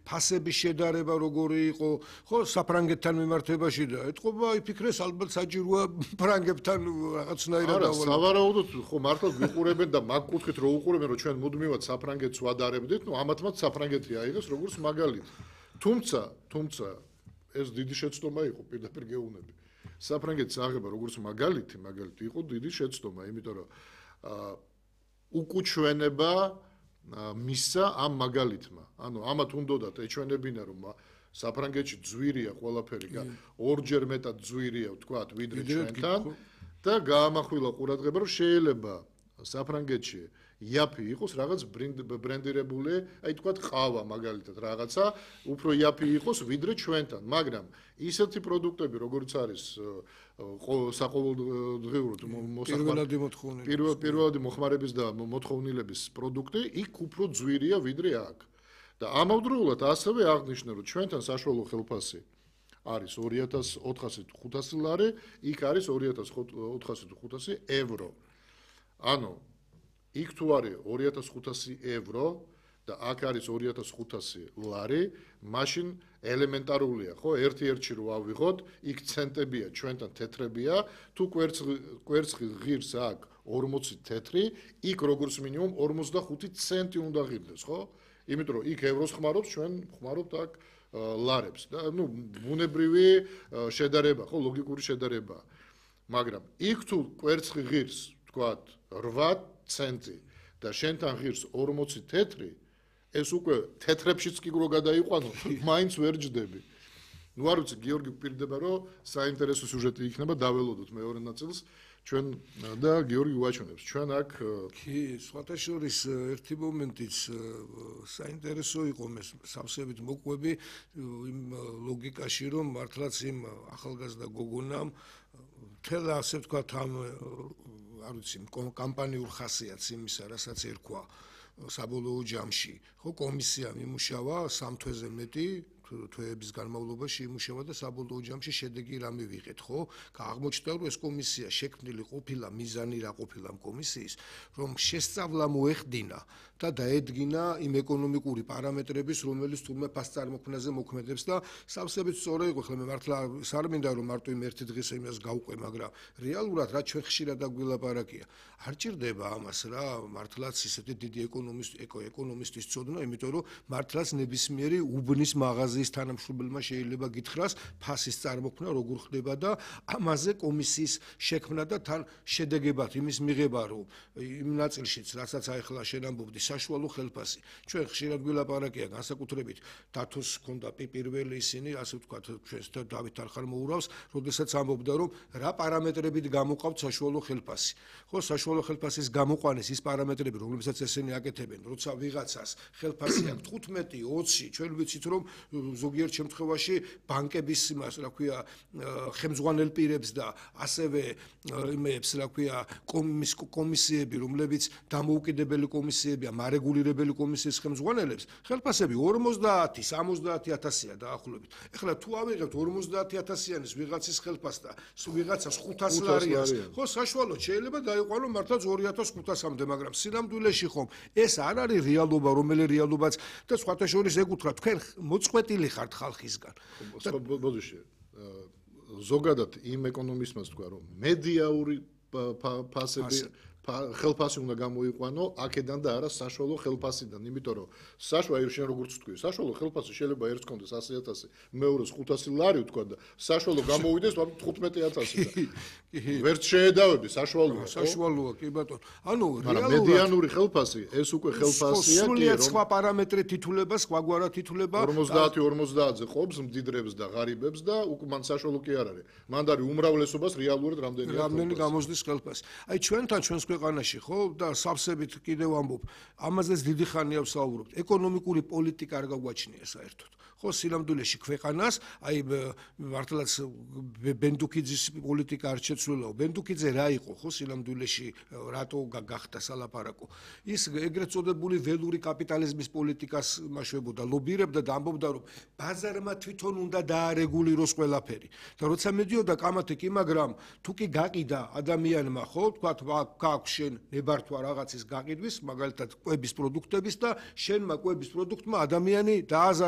ფასების შედარება როგორი იყო, ხო, საფრანგეთთან მიმართებაში და ეთყობა იფიქრეს ალბათ საჭიროა ფრანგებთან რაღაცნაირად დავალება. არა, სავარაუდოდ ხო მართლა გვიყურებენ და მაგ კუთხით რო უყურებენ, რომ ჩვენ მუდმივად საფრანგეთს ვადარებდით, ამათმაც საფრანგეთი აიღეს როგორც მაგალითი. თუმცა ეს დიდი შეცდომა იყო, პირდაპირ გეუბნები. საფრანგეთის აღება როგორც მაგალითი იყო დიდი შეცდომა, იმიტომ რომ უკუჩვენება მისცა ამ მაგალითმა. ანუ ამათ უნდათ ეჩვენებინა რომ საფრანგეთში ძვირია ყველაფერი, ორჯერ მეტად ძვირია ვთქვათ, ვიდრე ჩვენთან და გაამახვილა ყურადღება რომ შეიძლება საფრანგეთში იაფი იყოს რაღაც ბრენდირებული, აი თქვათ ყავა მაგალითად რაღაცა, უფრო იაფი იყოს ვიდრე ჩვენთან, მაგრამ ისეთი პროდუქტები როგორც არის საყოველთაოდ პირველადი მოხმარების და მოთხოვნილების პროდუქტი, იქ უფრო ძვირია ვიდრე აქ. და ამავდროულად ასევე აღნიშნა რომ ჩვენთან საშუალო ხელფასი არის 2400-500 ლარი, იქ არის 2400-500 ევრო. ანუ იქ თუ არის 2500 ევრო და აქ არის 2500 ლარი, მაშინ ელემენტარულია, ხო, ერთ-ერთში რო ავიღოთ, იქ ცენტებია, ჩვენთან თეთრებია, თუ კვერცხი ღირს აქ 40 თეთრი, იქ როგორც მინიმუმ 45 ცენტი უნდა ღირდეს, ხო? იმიტომ რომ იქ ევროს ხმარობს, ჩვენ ხმარობთ აქ ლარებს და ნუ ბუნებრივი შედარება, ხო, ლოგიკური შედარება. მაგრამ იქ თუ კვერცხი ღირს, თქვათ 8 ცენტი და შენთან ღირს 40 თეთრი, ეს უკვე თეთრებშიც კი რო გადაიყვანო, მაინც ვერ ჯდები. ნუ არ ვიცი, გიორგი გვპირდება, რომ საინტერესო სიუჟეტი იქნება, დაველოდოთ მეორე ნაწილს ჩვენ და გიორგი უაჩვენებს. ჩვენ აქ კი, სხვათა შორის ერთი მომენტიც საინტერესო იყო მე სავსებით მოყვები იმ ლოგიკაში, რომ მართლაც იმ ახალგაზრდა გოგონამ თელ ასე ვთქვათ ამ არ ვიცი, კამპანიურ ხასიათს იმისა, რასაც ერქვა საბოლოო ჯამში, ხო, კომისიამ იმუშავა 3 თვეზე მეტი თვეების განმავლობაში იმუშავა და საბოლოო ჯამში შედეგი რა მივიღეთ, ხო? აღმოჩნდა რომ ეს კომისია შექმნილი ყოფილა, მიზანი რა ყოფილა ამ კომისიის, რომ შესწავლა მოეხდინა და დაედგინა იმ ეკონომიკური პარამეტრების, რომელიც თურმე ფასწარმოქმნაზე მოქმედებს და სავსებით სწორი იყო, ხოლმე მართლა არ მინდა რომ მარტო იმ ერთი დღის იმას გავყვე, მაგრამ რეალურად რა ჩვენ ხშირად აგვილაპარაკია. არ ჭირდება ამას რა, მართლაც ისეთი დიდი ეკონომისტის ცოდნა, იმიტომ რომ მართლაც ნებისმიერი უბნის მაღაზიის თანამშრომელმა შეიძლება გითხრას ფასის წარმოქმნა როგორ ხდება და ამაზე კომისიის შექმნა და თან შედეგებად იმის მიღება, რომ იმ ნაწილშიც, რასაც ახლა შენ ამბობდი, საშუალო ხელფასი. ჩვენ ხშირად გვილაპარაკია განსაკუთრებით დათოს ჰქონდა პირველი ისინი, ასე ვთქვათ, ჩვენს დავით არხარმოურავს, როდესაც ამბობდა, რომ რა პარამეტრებით გამოყავთ საშუალო ხელფასი. ხო, საშუალო ხელფასის გამოყვანის ის პარამეტრები, რომლებსაც ესენი აკეთებენ, როცა ვიღაცას ხელფასი აქვს 15, 20, ჩვენ ვიცით, რომ ზოგიერთ შემთხვევაში ბანკების იმას, რა ქვია, ხელმძღვანელ პირებს და ასევე იმებს, რა ქვია, კომისიები, რომლებიც დამოუკიდებელი კომისიებია, მარეგულირებელი კომისიის ხელმძღვანელებს, ხელფასები 50, 70,000-ია დაახლოებით. ეხლა თუ ავიღებთ 50,000-იანის ვიღაცის ხელფასს და ვიღაცას 500 ლარიას, ხო, საშუალოდ შეიძლება დაიყვანო მართლაც 2500-მდე, მაგრამ სინამდვილეში ხომ ეს არ არის რეალობა, რომელი რეალობაც და სხვათა შორის ეკუთვნა თქვენ მოწყვეტილი ხართ ხალხისგან. ბოდიში, ზოგადად იმ ეკონომისტმა თქვა, რომ მედიაური ხელფასი უნდა გამოიყვანო აქედან და არა საშუალო ხელფასიდან, იმიტომ რომ საშუალო შენ როგორც თქვი, საშუალო ხელფასი შეიძლება ერთს კონდეს 100,000, მეორეს 500 ლარი თქვა და საშუალო გამოვიდეს 15,000 და ვერც შეედავები საშუალოა. საშუალოა, კი ბატონო. ანუ რეალურად მედიანური ხელფასი, ეს უკვე ხელფასია, სრულიად სხვა პარამეტრით ითვლება, სხვაგვარად ითვლება. 50-50-ზე ყოფს, მდიდრებს და ღარიბებს და უკვე მან საშუალო კი არ არის. მან არის უმრავლესობას რეალურად რამდენი გამოსდის ხელფასი. აი ჩვენთან ჩვენს ქვეყანაში, ხო, და სავსებით კიდევ ამბობ, ამაზეც დიდი ხანია ვსაუბრობთ. ეკონომიკური პოლიტიკა არ გაგვაჩნია საერთოდ. ხო, სინამდვილეში ქვეყანას, აი მართლაც ბენდუკიძის პოლიტიკა არ შეცვლილაო. ბენდუკიძე რა იყო, ხო, სინამდვილეში რატო გახდა სალაპარაკო. ის ეგრეთ წოდებული ველური კაპიტალიზმის პოლიტიკას მაშვებოდა, ლობირებდა და ამბობდა, რომ ბაზარმა თვითონ უნდა დაარეგულიროს ყველაფერი. და როცა მედიოდა კამათი კი, მაგრამ თუ კი გაყიდა ადამიანმა, ხო, თქვა გაქვს შენ ნებართვა რაღაცის გაყიდვის, მაგალითად კვების პროდუქტების და შენმა კვების პროდუქტმა ადამიანი დააზარა